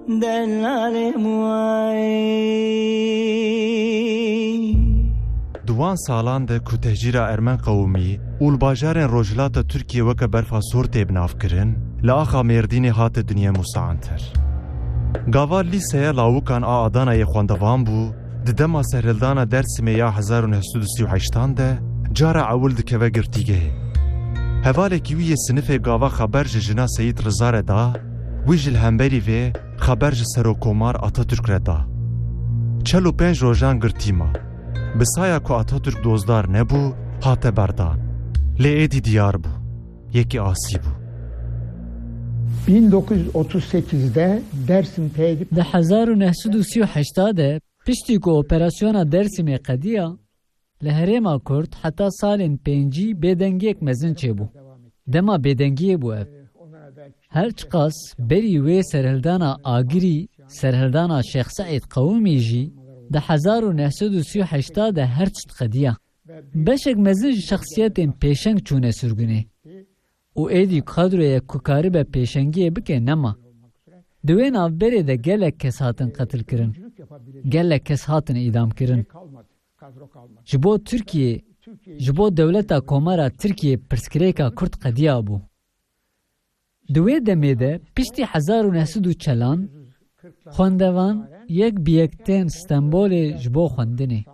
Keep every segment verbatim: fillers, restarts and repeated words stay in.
Di wan salan de ku tehcîra Ermen qewimî û li bajarên Rojhilata Tirkiyê weke berfa sor tê binavkirin, li axa Mêrdînê hate dinyê Musa Anter. Gava lîseya lawikan a Adanayê xwendevan bû, di dema serhildana Dêrsimê ya hezar û neh sed û sî û heştan de cara ewil dikeve girtîgehê. Hevalekî wî yê sinifê gava xeber ji jina Seyîd Riza re da, wî jî li hemberî vê xeber ji Serokkomar Atatürk re da. Çel û pênc rojan girtî ma. Bi saya ku Atatürk dozdar nebû, hate berdan. Lê êdî diyar bû. Yekî asî bû. Bin dokuz yüz otuz sekizde Dersim teyit. Di hezar û neh sed û sî û heşta de, piştî ku operasyona Dersimê qediya, li herêma Kurd heta salên pêncî bêdengiyek mezin çêbû. Dema bêdengiyê bû ev. Her çiqas berî wê serhildana Agirî, serhildana Şêx Seîd Qewimî jî di hezar û neh sed û sî û heşta de her tişt qediya. Beşek mezin ji şexsiyetên pêşeng çûne sirgunê û êdî kadroyek ku karibe pêşengiyê bike nema. Di wê navberê de gelek kes hatin qetilkirin. Gelek kes hatin îdamkirin. Ji bo Tirkiyê, ji bo dewleta Komara Tirkiyê pirsgirêka Kurd qediya bû. Di wê demê de piştî hezar û neh sed û çelan xwendevan yek bi yek tên Stenbolê ji bo xwendinê.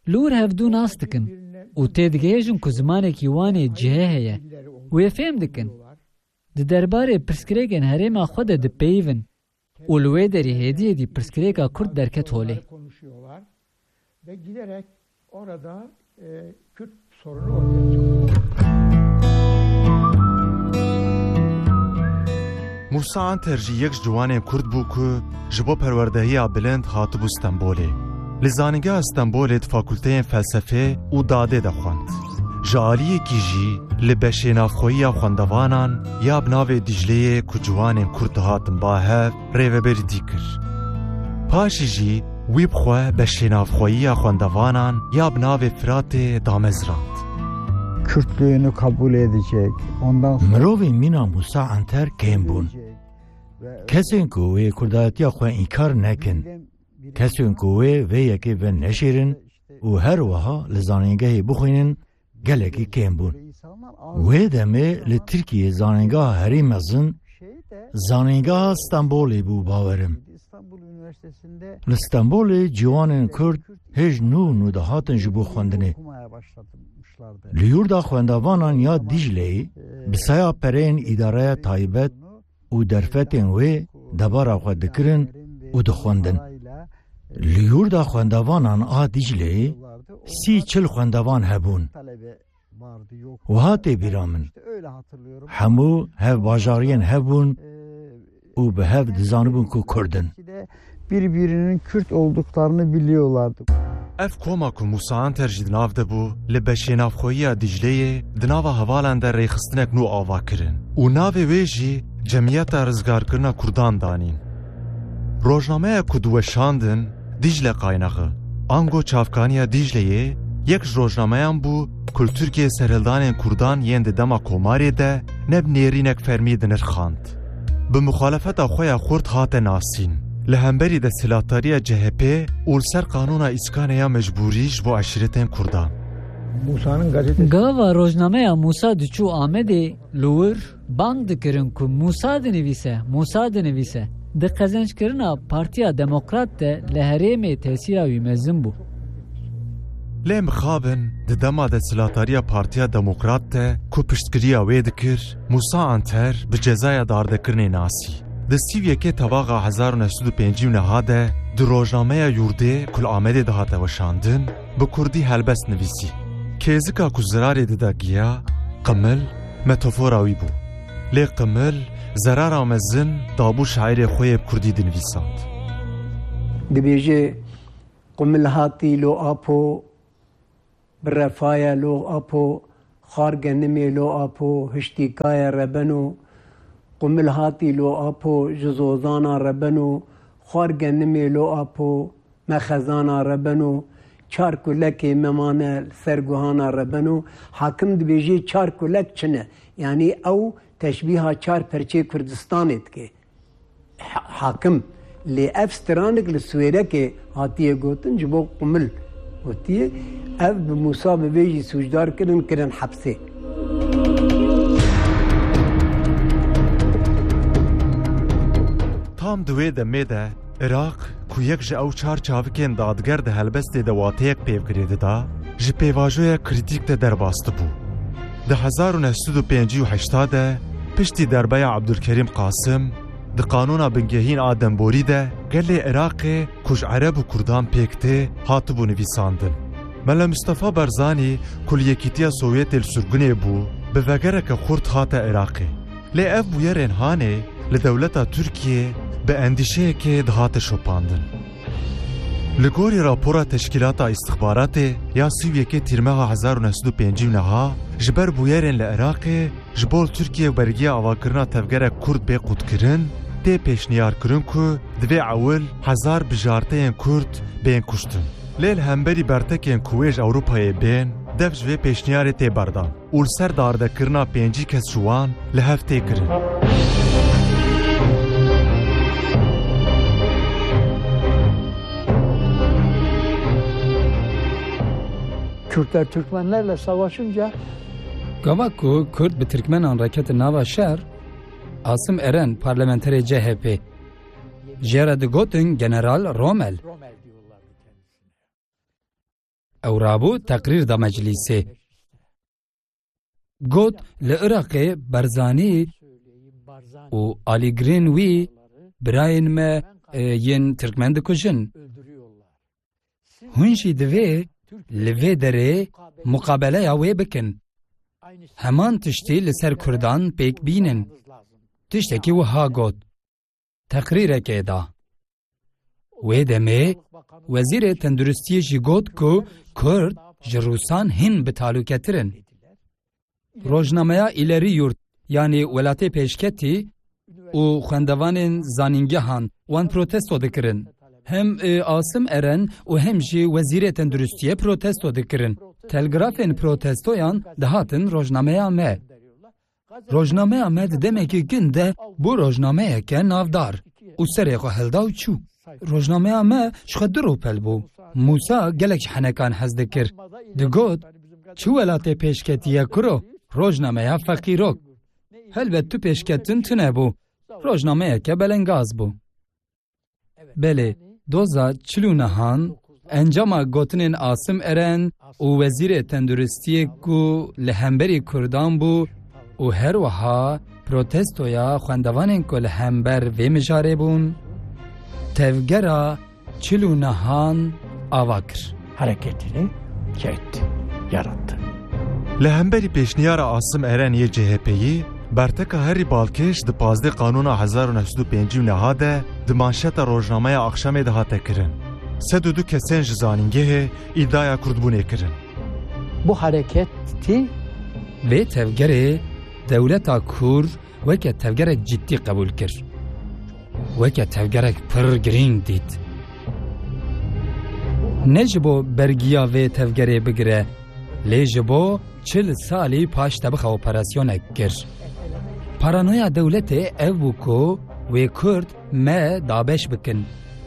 Li wir hevdû nas dikin û têdigihêjin ku zimanekî wan ê cihê heye. Wê fêm dikin. Di derbarê pirsgirêkên herêma xwe de dipeyivin û li wê derî hêdî hêdî pirsgirêka Kurd derket holê. Ve giderek orada e, Kürt sorunu ortaya çıkıyor. Musa Anter jî yek ji ciwanên Kurd bû ku ji bo perwerdehiya bilind hatibû Stenbolê. Li Zanîngeha Stenbolê di fakulteyên felsefê û dadê de xwend. Ji aliyekî jî li beşê navxweyiya xwendevanan ya bi navê Dîcleyê ku ciwanên Kurd dihatin ba hev, rêveberîtî kir. Paşî jî wî bi xwe beşê navxweyiya xwendevanan ya bi navê Firatê damezrand. Kürtlüğünü kabul edecek. Ondan sonra Mirovên mîna Musa Anter kêm bûn. Kesên ku wê kurdayetiya xwe înkar nekin, kesên ku wê vê yekê veneşêrin û her wiha li zanîngehê bixwînin, gelekî kêm bûn. Wê demê li Tirkiyê zanîngeha herî mezin zanîngeha Stenbolê bû, bawerim. Li Stenbolê ciwanên Kurd hêj nû nû dihatin ji bo xwendinê. Li yurda xwendavanan ya Dîcleyê bi saya pereyên îdareya taybet û derfetên wê debara xwe dikirin û dixwendin. Li yurda xwendavanan a Dîcleyê sî çil xwendevan hebûn. Wiha tê bîra min. Hemû hev bajariyên hev bûn û bi hev dizanibûn ku Kurd in. Birbirinin Kürt olduklarını biliyorlardı. Ev koma ku Musa Anter jî di nav de bû, li beşê navxweyiya Dîcleyê di nava hevalan de rêxistinek nû ava kirin û navê wê jî Cemiyeta Rizgarkirina Kurdan danîn. Rojnameya ku diweşandin Dîcle Qaynağı, ango Çavkaniya Dîcleyê yek ji rojnameyan bû ku li Tirkiyê serhildanên Kurdan yên di dema Komarê de ne bi nêrînek fermî dinirxand. Bi muxalefeta xwe ya xurt hate nasîn. Li hemberî desthilatdariya C H P û li ser qanûna îskanê ya mecbûrî ji bo eşîretên Kurdan. Gava rojnameya Mûsa diçû Amedê li wir bang dikirin ku Mûsa dinivîse, Mûsa dinivîse. Di qezenckirina Partiya Demokrat de li herêmê tesîra wî mezin bû. Lê mixabin di dema desthilatdariya Partiya Demokrat de ku piştgiriya wê dikir, Mûsa Anter bi cezaya dardekirinê nasî. Di sî û yekê Tevaxa hezar û neh sed û pêncî û neha de di rojnameya Yurdê ku li Amedê dihate weşandin, bi kurdî helbest nivîsî. Kêzika ku zirarê dida giya, qimil, metafora wî bû. Lê qimil, zerara mezin dabû şairê xwe yê bi kurdî dinivîsand. Dibêje, Qumil hatî lo apo, bi refaye lo apo, xar genimê lo apo, hiştîkaye rebeno, qumil hatî lo apo, ji zozana rebeno, xar genimê lo apo, me xezana rebeno, çar kulekê me mane li ser guhana rebeno. Hakim dibêjê çar kulek çi ne? Yanî ew teşbîha çar perçê Kurdistanê dike. ha-, hakim. Lê ev stranik li Swêrekê hatiye gotin, ji bo qumil gotiye. Ev bi Mûsa Bibê jî sûcdar kirin, kirin hepsê. Tam di wê demê de Iraq, ku yek ji ew çar çavikên dadger di helbestê de wateyek pêvgirê dida, ji pêvajoya krîtîk de derbas dibû. Di hezar û neh sed û pêncî û heşta de, piştî derbeya Abdulkerîm Qasim, di qanûna bingehîn a demborî de gelê Iraqê ku ji Ereb û Kurdan pêk tê, hatibû nivîsandin. Mele Mustafa Barzanî ku li Yekîtiya Sovyetê li surgunê bû, bi vegereke xurt hate Iraqê. Lê ev bûyerên hanê li dewleta Tirkiyê bi endîşeyekê dihate şopandin. Li gorî rapora Teşkîlata Îstixbaratê ya sî û yekê Tîrmeha hezar û neh sed û pêncî û neh, ji ber bûyerên li Iraqê, ji bo li Tirkiyê bergiya avakirina tevgerek Kurd bê qutkirin, tê pêşniyarkirin ku divê ewil hezar bijarteyên Kurd bên kuştin. Lê li hemberî bertekên ku wê ji Ewropayê bên, dev ji vê pêşniyarê tê berdan û li ser dardekirina pêncî kes ji wan li hev tê kirin. Kürtler Türkmenlerle savaşınca Gava ku Kurd bi Tirkmenan re ketin nava şer, Asim Eren, parlamenterê C H P, jê re digotin General Rommel. Ew rabû teqrîr da meclîsê. Got, li Iraqê Barzanî û alîgirên wî birayên me, e, yên Tirkmen dikujin. Hûn jî divê li vê derê muqabeleya wê bikin. Heman tiştî li ser Kurdan pêk bînin. Tiştekî wiha got. Teqrîrekê da. Wê demê Wezîrê Tenduristiyê jî got ku Kurd ji Rûsan hin bi talûketir in. Rojnameya Îlerî Yurt, yanî Welatê Pêşketî û xwendevanên zanîngehan wan protesto dikirin. Hem, e, Asim Eren û hem jî Wezîrê Tenduristiyê protesto dikirin. Telgrafên protestoyan dihatin rojnameya me. Rojnameya me di demekî kin de bû rojnameyeke navdar û serê xwe hilda û çû. Rojnameya me ji xwe du rûpel bû. Mûsa gelek ji henekan hez dikir. Digot, çi welatê pêşketî ye kuro, rojnameya feqîrok. Helbet tu pêşketin tune bû. Rojnameyeke belengaz bû. Belê, doza çil û nehan, encama gotinên Asim Eren û Wezîrê Tenduristiyê ku li hemberî Kurdan bû û her wiha protestoya xwendevanên ku li hember vê mijarê bûn, tevgera çil û nehan ava kir. Hareketini ket, yarattı. Li hemberî pêşniyara Asim Eren yê C H P'yî, berteka herî balkêş di pazdeh Qanûna hezar û neh sed û pêncî û neh de di manşeta rojnameya Akşamê de hate kirin. Sed û du kesên ji zanîngehê îdiaya kurdbûnê kirin. Bu hareketi Vê tevgerê dewleta Kur weke tevgerek ciddî qebûl kir. Weke tevgerek pir girîng dît. Ne ji bo bergiya vê tevgerê bigire, lê ji bo çil salî paş tebixa operasyonek kir. Paranoya dewletê ev bû ku wê Kurd me dabeş bikin,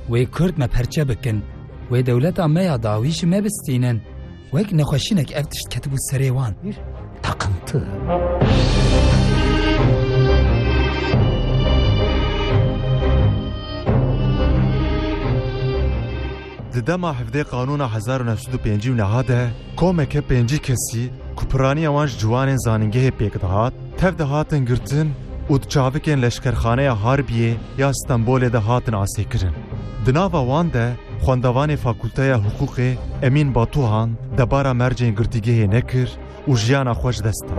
wê Kurd me perçe bikin, wê dewleta me ya dawî ji me bistînin. Wek nexweşînek ev tişt ketibû serê wan. Bir takıntı. Di dema hevdeh Qanûna hezar û neh sed û pêncî û neh de komeke pêncî kesî ku piraniya wan ji ciwanên zanîngehê pêk dihat, tev dihatin girtin û di çavikên leşkerxaneya Harbiyê ya Stenbolê de hatin asê kirin. Di nava wan de xwendevanê Fakulteya Hiqûqê Emîn Batuhan debara mercên girtîgehê nekir û jiyana xwe ji dest da.